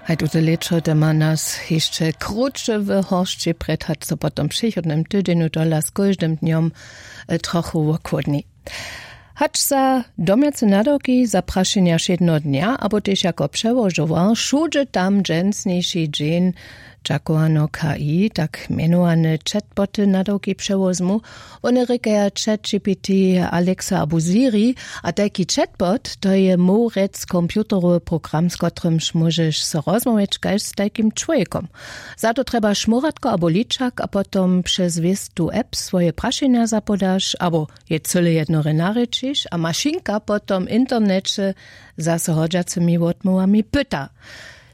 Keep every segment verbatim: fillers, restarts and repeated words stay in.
A tute lěćo doma nas hišće krótše w horšći prjed hač so potom w přichodnym tydźenju tola z kóždym dnjom trochu wochłódni. Hač za domjace nadawki za prašenja wšědneho dnja abo tež jako přełožowar wšudźe tam dźensniši dźeń dźakowano k i tak mjenowane chatboty nadawki přewozmu. Wone rěkaja chat gpt, alexa abo siri. A tajki chatbot to je mowrec computerowy program z kotrymž móžeš so rozmołwjeć kaž z tajkim čłowjekom. Za to trjebaš móratko abo ličak a potom přez wěstu app swoje prašenja zapodaš abo je cyle jednorje narěčiš a mašinka potom w interneće zaso hodźacymi wotmołwami pyta.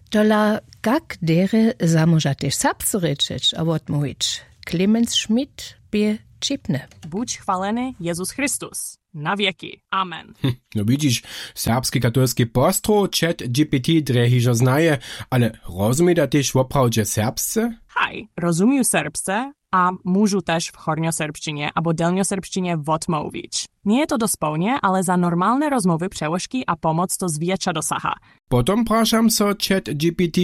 Tola kak derje zamóža tež serbsce rěčeć a wotmołwić? Clemens schmidt bě ćipny. Budź chwaleny jezus christus, na wjeki, amen. No widźiš, serbski katolski postrow chat gpt drje hižo znaje. Ale rozumita tež woprawdźe serbsce? Haj, rozumiju serbsce a móžu tež w hornjoserbšćinje abo delnjoserbšćinje wotmołwić. Njeje to dospołnje ale za normalne rozmołwy přełožki a pomoc to zwjetša dosaha. Potom prašam so chat gpt,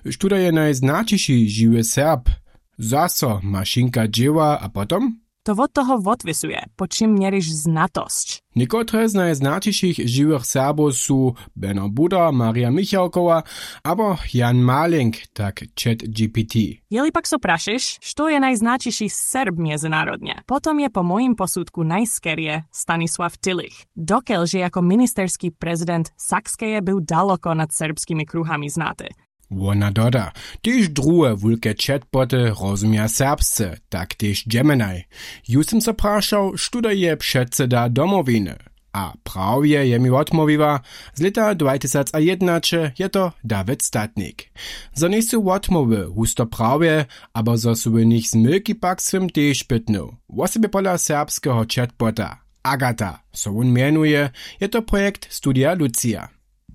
štó da je najznaćiši žiwy serb? Zaso mašinka dźěła a potom? To wot toho wotwěsuje po čim měriš znatosć. Někotre z najznaćišich žiwych serbow su beno buda marja michałkowa abo jan malenk, tak chat gpt. Jeli pak so prašiš što je najznaćiši serb mjezynarodnje, potom je po mójim posudku najskerje stanisław tillich. Dokelž je jako ministerski prezident sakskeje był daloko nad serbskimi kruhami znaty. Wona doda, tež druhe wulke chatboty rozumja serbsce, tak tež dźemenaj. Ju sym so prašał štó da je předseda domowiny. A prawje je mi wotmołwiła, z lěta dwatysacajědnaće je to dawid statnik. Zo njejsu wotmołwy husto prawje, abo zo su w nich zmylki pak sym tež pytnył. Wosebje pola serbskeho chatbota agata so wón mjenuje. Je to projekt studija lucija.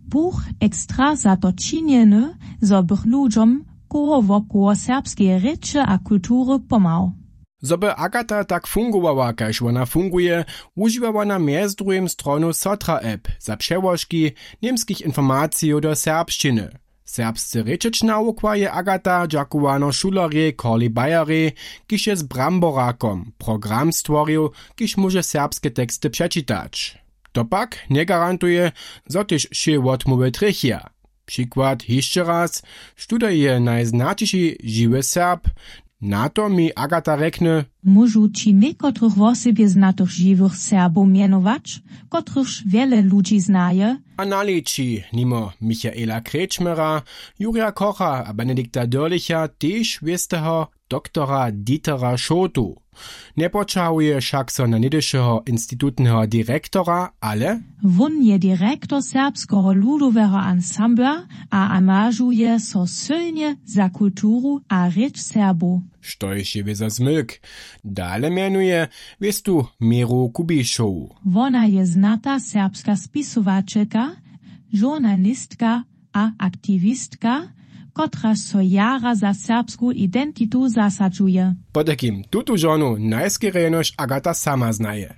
Buch ekstra za to činjeny, zo bych ludźom koło wokoło serbskeje rěče a kultury pomhał. Zo by agata tak fungowała kaž wona funguje, wužiwa wona mjez druhim stronu sotra app za přełožki němskich informacijow do serbšćiny. Serbsce rěčeć nawukła je agata dźakowano šulerjej corley bayerej, kiž je z bramborakom program stworił, kiž móže serbske teksty přečitać. To pak njegarantuje, zo tež wšě wotmołwy trjechja. Přikład hišće raz, štó da je najznaćiši žiwy serb? Na to mi agata rjekny. Móžu ći někotrych wosebje znatych žiwych serbow mjenować, kotrychž wjele ludźi znaje? A naliči nimo michaela krečmera, jurja kocha a benedikta dörlicha tež wěsteho doktora dietera šołtu. Njepoćahuje wšak so na něhdyšeho institutneho direktora, ale wón je direktor serbskeho ludoweho ansambla a angažuje so sylnje za kulturu a rěč serbow. Štož je wězo zmylk. Dale mjenuje wěstu měru kubišowu. Wona je znata serbska spisowaćelka, žurnalistka a aktiwistka, kotraž so jara za serbsku identitu zasadźuje. Potajkim tutu žonu najskerje jenož agata sama znaje.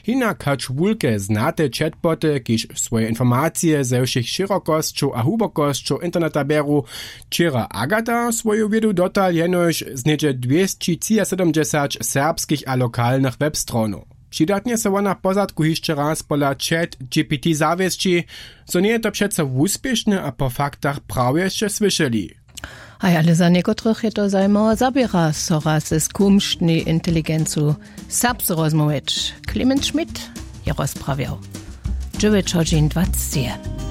Hinak hač wulke znate chatboty kiž swoje informacije ze wšěch šěrokosćow a hłubokosćow interneta bjeru, wčera agata swoju wědu dotal jenož z něhdźe dwěsćićiasydomdźesać serbskich a lokalnych webstronow. Přidatnje so wona w pozadku hišće raz pola chat gpt zawěsći, zo njeje to přeco wuspěšne a po faktach prawje sće słyšeli. Haj ale za někotrych je to zajimawa zaběra so raz z kumštnej inteligencu serbsce rozmołwjeć. Clemens schmidt je rozprawjał. Dźewjeć hodźin dwacet je.